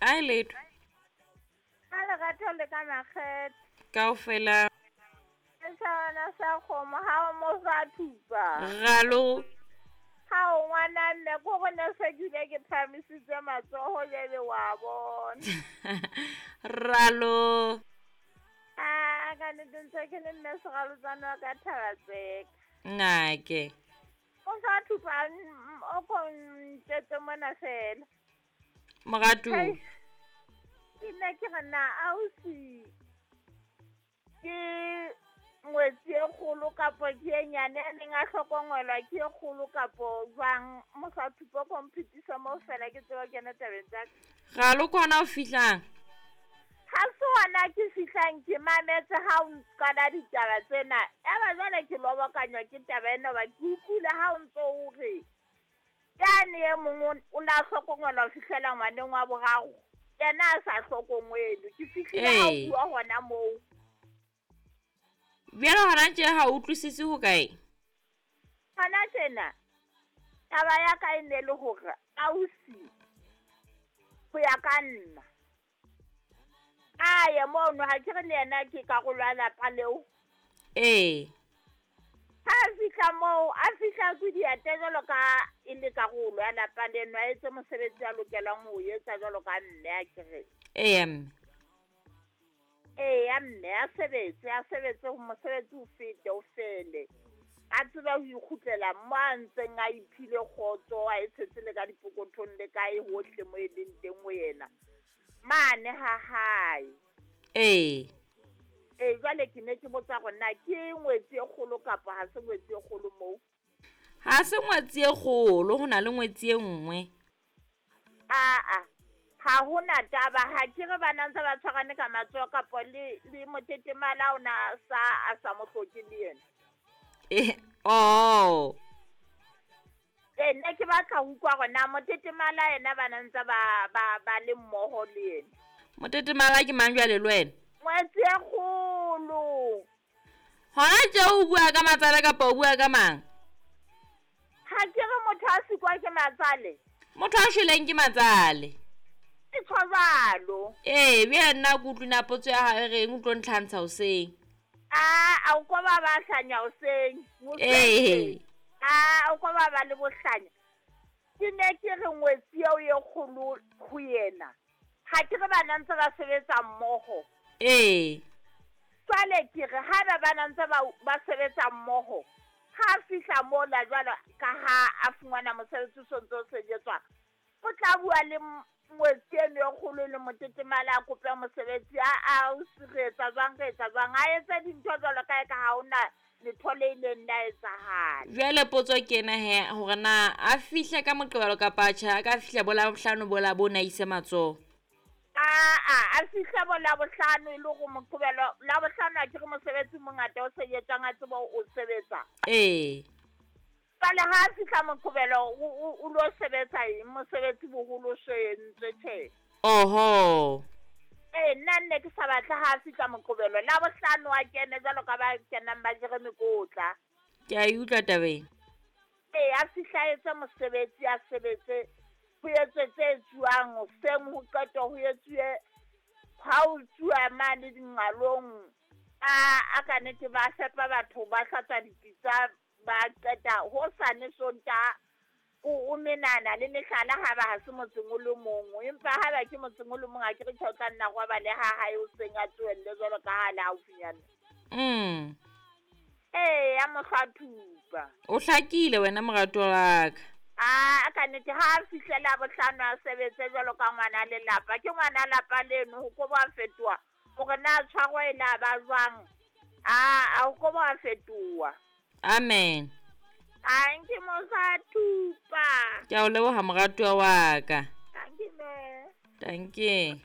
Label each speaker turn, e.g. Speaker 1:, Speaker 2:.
Speaker 1: A e letho.
Speaker 2: Ka lerato le ka makgethe.
Speaker 1: Kaofela.
Speaker 2: Seshawana sa kgomo ha o mo fa thupa.
Speaker 1: Ralo.
Speaker 2: Ha o ngwana mme ko go ne se ke ile ke phahamisitse matsoho jwale wa bona.
Speaker 1: Ralo.
Speaker 2: A ka nnete ntse ke le mme seralotsane wa ka thaba tseka.
Speaker 1: Nnake.
Speaker 2: O sa thupa o ko ntjwetse mona fela.
Speaker 1: Moratuwa.
Speaker 2: Ke nna ke re na ausi ke ngwetsi e kgolo kapo ke e nyane a neng a hlokomelwa ke e kgolo kapo jwang? Mosathupa o ko mphitisa moo fela ke tsebe ho kena tabeng tsa ka.
Speaker 1: Ralo ke hona o fihlang?
Speaker 2: Ha se hona ke fihlang ke mametse ha o qala ditaba tsena. Eba jwale ke lobokanywa ke taba ena hoba ke utlwile ha o ntso o re yane e mong o la hlokomelwa ho fihlela ngwaneng wa boraro. Yena a sa hlokomele. Ke fihlile ha o bua hona moo.
Speaker 1: Bjale hona tje ha o utlwisise ho kae?
Speaker 2: Hona tjena taba ya ka e ne le hore ausi ho ya ka nna a ye mono ha ke re le yena ke karolo ya lapa leo.
Speaker 1: Ee.
Speaker 2: Ha a fihla moo a fihla ke diate jwalo ka e le karolo ya lapa leno a etse mosebetsi a lokelang ho etsa jwalo ka mme a ke re.
Speaker 1: Ee mme.
Speaker 2: Ee mme a sebetse a sebetse mosebetsi o fete o fele. A tsebe ho ikgutlela mo a ntseng a iphile kgotso a e tshetse le ka dipokothong le kae hohle mo e leng teng ho yena. Mane ha hae.
Speaker 1: Ee.
Speaker 2: Ee jwale ke ne ke botsa hore na ke ngwetsi e kgolo kapa ha se ngwetsi e kgolo moo?
Speaker 1: Ha se ngwetsi e kgolo, ho na le ngwetsi e nngwe.
Speaker 2: Aa, ha hona taba ha ke re bana ntse ba tshwarane ka matsoho kapo le le motetemala o na sa a sa mo hloke le yena.
Speaker 1: Eh, oh.
Speaker 2: Ee, nna ke batla ho utlwa hore na motetemala yena bana ntse ba ba ba le mmoho le yena.
Speaker 1: Motetemala ke mang jwale le wena?
Speaker 2: Ngwetsi e kgolo.
Speaker 1: Hona tje o bua ka matsale kapa o bua ka mang?
Speaker 2: Ha ke re motho a sikwa ke matsale.
Speaker 1: Motho a shweleng ke matsale.
Speaker 2: Ke tjho jwalo.
Speaker 1: Ee, bjale nna ke utlwe na potso ya hao e reng o tlo ntlhantsha hoseng.
Speaker 2: A o ko ba ba hlanya hoseng.
Speaker 1: Ee.
Speaker 2: A o ko ba ba le bohlanya. Ke ne ke re ngwetsi eo e kgolo ho yena. Ha ke re bana ntse ba sebetsa mmoho.
Speaker 1: Ee.
Speaker 2: Jwale ke re haeba bana ntse ba sebetsa mmoho, ha a fihla mola jwalo ka ha a fumana mosebetsi o sontso o sebetswa, o tla bua le ngwetsi eno e kgolo le motetemala a kope mosebetsi a o re etsa jwang re etsa jwang a etse dintho jwalo ka ka ha hona letho le ileng la etsahala.
Speaker 1: Jwale potso ke ena he hore na a fihle ka Moqebelo kapa tjhe a ka fihla bo Labohlano bola bo na ise matsoho.
Speaker 2: Aa a fihle bo Labohlano e le hore Moqebelo Labohlano a ke re mosebetsi o mongata o sebetsang a tsebe o sebetsa.
Speaker 1: Ee.
Speaker 2: Jwale ha a fihla Moqebelo o lo sebetsa eng mosebetsi boholo o so entswe tjhe.
Speaker 1: Oho.
Speaker 2: Ee nna nne ke sa batle ha a fihla Moqebelo Labohlano a kene jwalo ka ba kenang ba jere mekotla.
Speaker 1: Ke a e utlwa tabeng.
Speaker 2: Ee a fihla a etse mosebetsi a sebetse ho etswe tse etsuwang hoseng ho qetwa ho etsuwe ha o tsuwa mane dinqalong a ka nnete ba fepa batho ba hlatswa dipitsa ba qeta hosane Sontaha o menana le mehlala ha ba ha se motseng o le mong empa ha ba ke motseng o le mong a ke re tjhe o tla nna robale ha hae hoseng a tsohelle jwalo ka ha le haufinyana. Ee ya mohlwathupa.
Speaker 1: O hlakile wena moratuwa wa ka.
Speaker 2: A ka nnete ha a fihle Labohlano a sebetse jwalo ka ngwana lelapa ke ngwana lapa leno ho ko ba fetoha hore na tshwaro e la ba jwang a ho ko ba fetoha.
Speaker 1: Amen.
Speaker 2: Thank you Mosathupa.
Speaker 1: Ke a o leboha moratuwa wa ka.
Speaker 2: Thank you mme.
Speaker 1: Thank you.